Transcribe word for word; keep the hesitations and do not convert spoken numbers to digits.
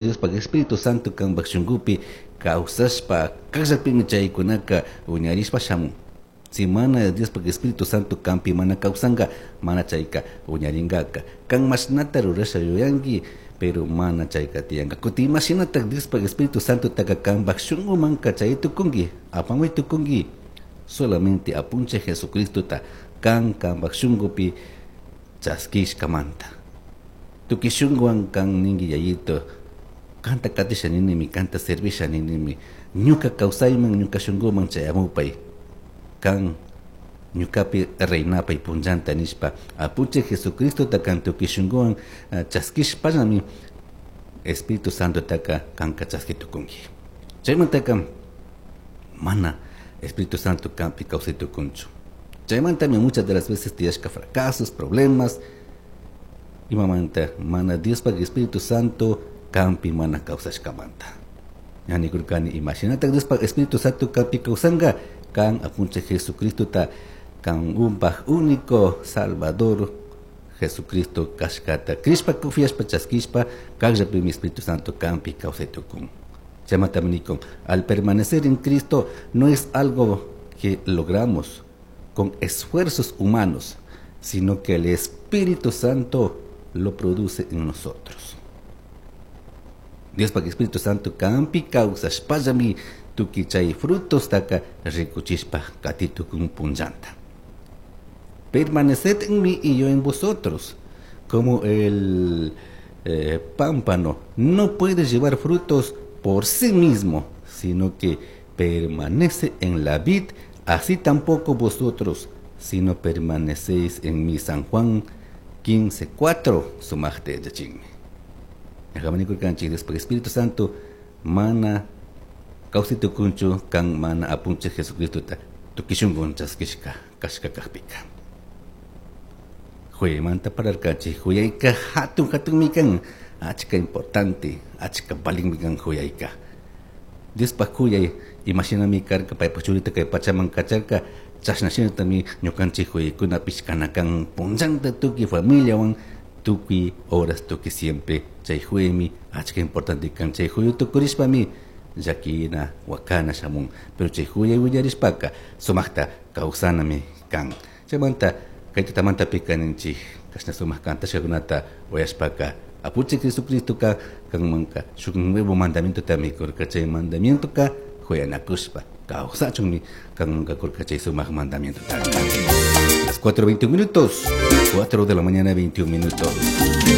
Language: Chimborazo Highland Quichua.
Diospaj Espíritu Santo kanpaj shunkupi kawsashpa kallapimi chaykunaka wiñarishpa shamun. Si mana Diospaj Espíritu Santo kanpi mana kawsanka, mana chayka wiñarinkaka. Kan mashnata rurasha yuyanki, pero mana chayka tiyanka. Kutin imashinatak Diospaj Espíritu Santotaka kanpaj shunkumanka chay tukunki, apamuy tukunki. Solamente apunchik Jesucristota kan kanpaj shunkupi chaskishkamanta. Tukuy shunkuwan kan ninki yayito, kanta katisha ninimi, kanta servisha ninimi, ñuka kawsayman, ñuka shunkuman chayamupay, kan ñukapi reinapay punllanta nishpa, apunchik Jesucristota kan tukuy shunkuwan chaskishpallami Espíritu Santotaka kanka chaski tukunki. Chaymantaka mana Espíritu Santo kanpi kawsay tukunchu. Chaymantami muchas de las veces tiyashka fracasos, problemas, imamanta mana Diospaj Espíritu Santo kanpi mana kawsashkamanta. Yani kurkani imashinatak Diospaj Espíritu Santo kanpi kawsanka, kan apunchik Jesucristota kan umpaj único Salvador Jesucristo kashkata krishpa confiashpa chaskishpa kallapimi Espíritu Santo kanpi kawsay tukun. Chaymantami nikun, al permanecer en Cristo no es algo que logramos con esfuerzos humanos, sino que el Espíritu Santo lo produce en nosotros. Diospaj Espíritu Santo kanpi kawsashpallami tukuy chay frutos taka rikuchishpa katitukun punllanta. Permaneced en mí y yo en vosotros, como el eh, pámpano no puede llevar frutos por sí mismo, sino que permanece en la vid, así tampoco vosotros, si no permanecéis en mí. San Juan quince cuatro, sumajte yachinmi. Ñakamanikurkanchik Diospaj Espíritu Santo mana kawsaytukunchu kan mana apunchik Jesucristota tukuy shunkuwan chaskishka kashka kajpika. Huyaymanta parlarkanchik, huyayka hatun hatunmi kan, achka importante, achka valinmi kan huyayka. Diospaj huyay imashinami karka paypaj churita kay pachaman kacharka, chashna shinatami ñukanchik huyaykunapish kana kan punllanta tukuy familiawan, tukuy horas, tukuy siempre. Chay huyaymi achka importante kan, chay huyu tukurishpami llakina wakana shamun, pero chay huyay willarishpaka sumakta kawsanami kan. Chaymanta kay tutamantapi kaninchik kashna sumak kantashkakunata uyashpaka apunchik Jesucristoka kanmanka shuk nuevo mandamientotami kurka, chay mandamientoka huyanakushpa kawsachunmi kanmanka kurka chay sumak mandamientota. Las cuatro veintiún minutos, cuatro de la mañana veintiún minutos.